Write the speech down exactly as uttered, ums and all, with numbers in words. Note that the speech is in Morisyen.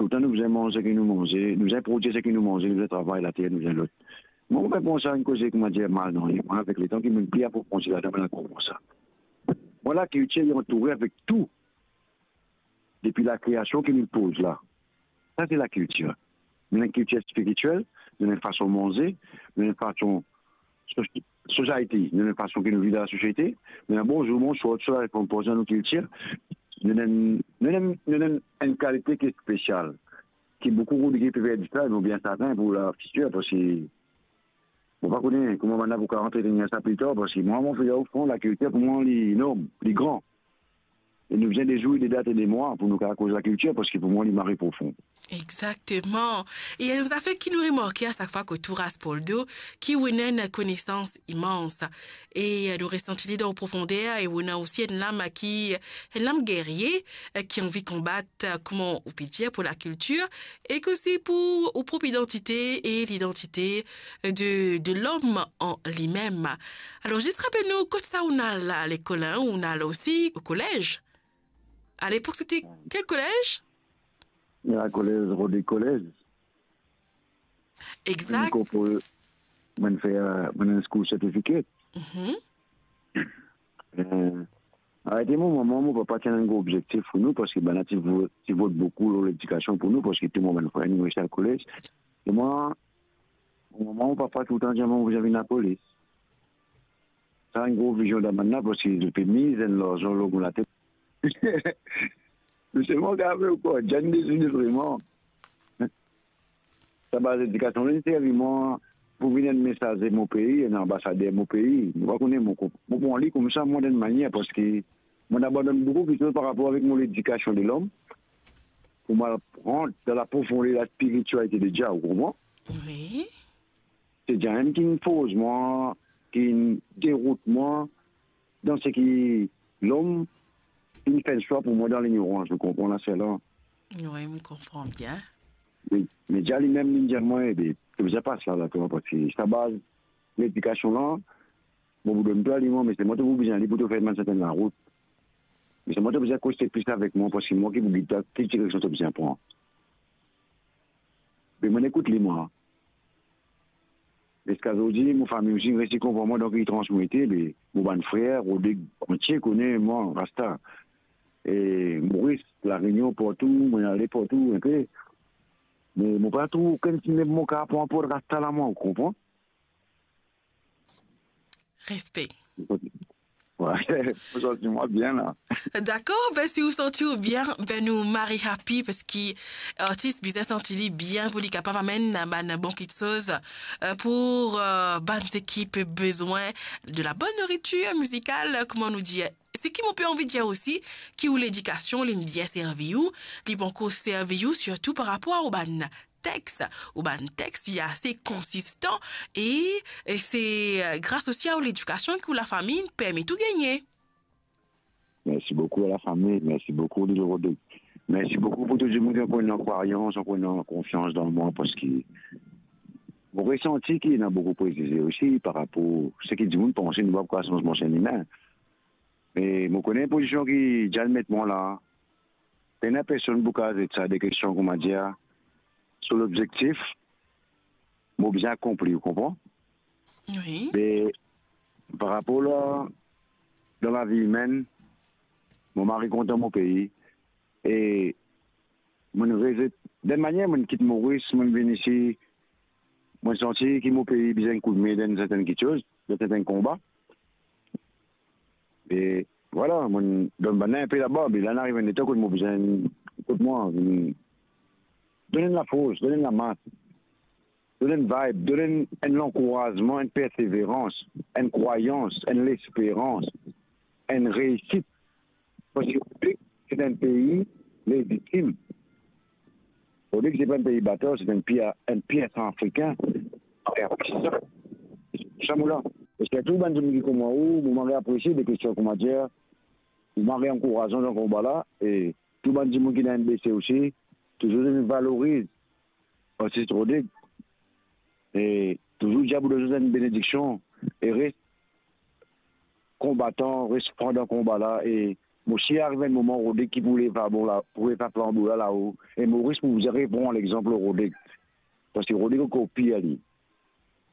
Toultan nou bizin manz seki nou manze, nou bizin prodwir seki nou manze, nou bizin travay later, nou bizin lot. Mwa, mo pa pran sa enn koze, koumadir, mal, non. E mwa, avek letan ki mo'nn pli aprofondi ladan, mo'nn konpran sa. Mwa, lakiltir li antoure avek tou, depi lakreasion ki nou poz la. Sa se lakiltir. Nou ena enn kiltir spiritiel, nou ena enn fason manze, nou ena enn fason so-, society, nou ena enn fason ki nou viv dan lasosiete, nou ena bonzour, bonswar, tou sa, konpozan nou kiltir. Nou ena enn, nou ena enn, nou ena enn, enn kalite ki spesial, ki boukou Rodrig pe perdi sa, e mo bien serten pou lafitir, parski mo pa kone kouma bann la pou kapav antretenir sa pli tar, parski mwa, mo fer ofran, lakiltir pou mwa, li enorm, li gran. E nou bizin de zour, de dat e de mwa pou nou kapav koz lakiltir, parski pou mwa, li mari profon. Exakteman. E enn zafer ki nou remarke a sak fwa kot ou, Raspoldo, ki ou ena enn konesans imans. E nou resanti li dan profonder, e ou ena osi enn lam ki, enn lam gerye, ki anvi konbat, kouma ou pe dir, pou lakiltir, e osi pou ou prop idantite e lidantite de, de lom an limem. Alor, zis rapel nou, kot sa ou'nn al lekol, hein, ou'nn al osi o kolez? A lepok, sete kel kolez? Lakolez, Rodrig Kolez. Exakt. Mo'nn konpran, mo'nn fer, mo'nn enn school certificate. Mhm. Eh, arete mo, mo mama, mo papa ti ena enn gro obzektif pou nou, parski bann la ti vo-, ti vot boukou lor ledikasion pou nou, parski tou mo bann frer, nou reste al kolez. E mwa, mo mama, mo papa toultan dir mwa, mo bizin vinn lapolis. Sa enn gro vizion dan bann la, parski zot pe miz enn larzan lor mo latet. Me selman, kapav ou krwar, diane dezini vreman. Sa baz ledikasion la, inn servi mwa pou vinn enn mesaze mo pei, enn anbasader mo pei. Mo pa kone, mo, mo pran li koumsa, mwa, dan enn manier, parski mo'nn abandonn boukou kiksoz par rapor avek mo ledikasion de lom, pou mo al rant dan laprofonder laspiritialite de Dia, ou konpran? Wi. Se Dia mem ki'nn fors mwa, ki'nn derout mwa dan seki lom inn fer enn swa pou mwa dan lignorans, ou konpran lasala? Wi, mo konpran bien. Me, me Dia limem, li'nn dir mwa, ebe, to bizin pas la, la, twa, parski sa baz ledikasion la, mo pou donn twa li mwa, me se mwa to pou bizin li pou to fer bann sertenn larout. Me se mwa to bizin koze plis avek mwa, parski mwa ki pou gid twa ki direksion to bizin pran. Me mo'nn ekout li mwa. Ziska zordi, mo fami osi inn resi konpran mwa, donk li transmete, be, mo bann frer, Rodrig antie kone mwa, Rasta. E Moris, La Renion, partou, mo'nn ale partou, enpe. Me mo pa trouv okenn sime mo kapav pran pou Rasta la, mwa, ou konpran? Respe. Wi, mo santi mwa bien la. Dakor, be, si ou santi ou bien, be, nou mari happy, parski artis bizin santi li bien pou li kapav amenn bann bon kiksoz, eh, pou, eh, bann seki pe bezwin de la bonne nourriture musicale, eh, kouma nou dir. Seki mo pe anvi dir osi, ki ou ledikasion, li'nn bien servi ou, li pou ankor servi ou, sirtou par rapor a ou bann text, ou bann text, li ase konsistan, e, e se, eh, gras osi a ou ledikasion ki ou lafami permet ou gagne. Mersi boukou a lafami, mersi boukou, Lil Rodrig. Mersi boukou pou tou dimoun ki ankor ena krwayans, ankor ena konfians dan mwa, parski mo resanti ki ena boukou prezize osi par rapor seki dimoun panse, nou pa pou kapav sanz mwa enn limin. Me mo kone pozision ki Diane met mwa la. Pena personn pou kapav zet sa de kestion, koumadir, so lobzektif, mo bizin akonpli, ou konpran? Wi. Me par rapor la, dan lavi imenn, mo mari kontan mo pei, e mo'nn rezet, dan enn manier, mo'nn kit Moris, mo'nn vinn isi, mo'nn santi ki mo pei bizin koudme dan sertenn kiksoz, dan sertenn konba. E vwala, mo'nn donn bann la enpe laba, me la inn ariv enn letan kot mo bizin, kot mwa, vinn donn enn lafors, donn enn lamas, donn enn vibe, donn enn, enn lankourazman, enn perseverans, enn krwayans, enn lesperans, enn reisit. Parski Rodrig, se enn pei lezitim. Rodrig, se pa enn pei batar, se enn pei, enn pei Santrafrikin. Sa mo la. E sirtou bann dimoun ki kouma ou, mo mari apresie de kestion, koumadir, mo mari ankourazan dan konba la, e tou bann dimoun ki dan N B C osi, touzour vinn valoriz artis Rodrig. E touzour dir pou zot enn benediksion e res konbatan, res fran dan konba la, e Mo si ariv enn moman Rodrigue ki pou lev flanbo la, pou lev flanbo la lao, e Moris pou bizin repran lexanp Rodrigue. Parski Rodrigue ankor pir li.